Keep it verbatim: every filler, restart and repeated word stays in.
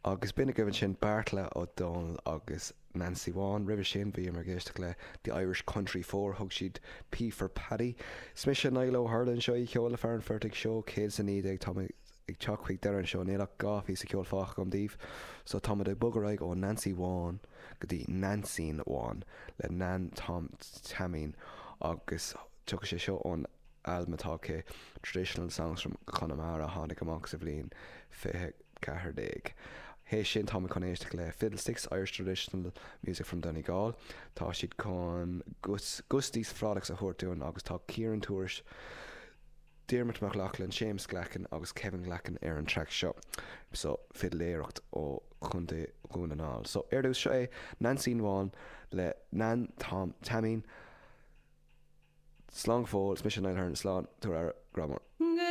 Agus b'in agaibh ansin Beartla Ó Domhnaill agus Nancy Bhán roimhe sin bhíomar ag éisteacht le The Irish Country Four thug siad P for Paddy. Is mise Niall Ó hUrlain seo í ceol le fear an phortaigh seo céad a naoi déag tá ag teacht chuig deireadh an seó níl ach dhá phíosa ceoil fágtha agam daoibh, so táimid ag bogadh ar aghaidh ó Nancy Bhán go dtí Neainsín Bhán le Nan Tom Teaimín agus tiocfaidh sé seo ón albam atá aici Traditional Songs from Connemara tháinig amach sa bhliain fiche ceathair déag. Théis sin tá chun éisteacht le Fiddlesticks Irish Traditional Music from Donegal. Tá siad chun Gusties Frolics a thabhairt dúinn agus tá Ciaran Tourish Diarmuid McLaughlin, James Glackin agus Kevin Glackin ar an track seo. So fidléireacht ó Chontae Dhún na nGall. So ar dtús seo é Neainsín Bhán le Nan Tom Teaimín Slán fóill mise Niall slán tú ar gramar.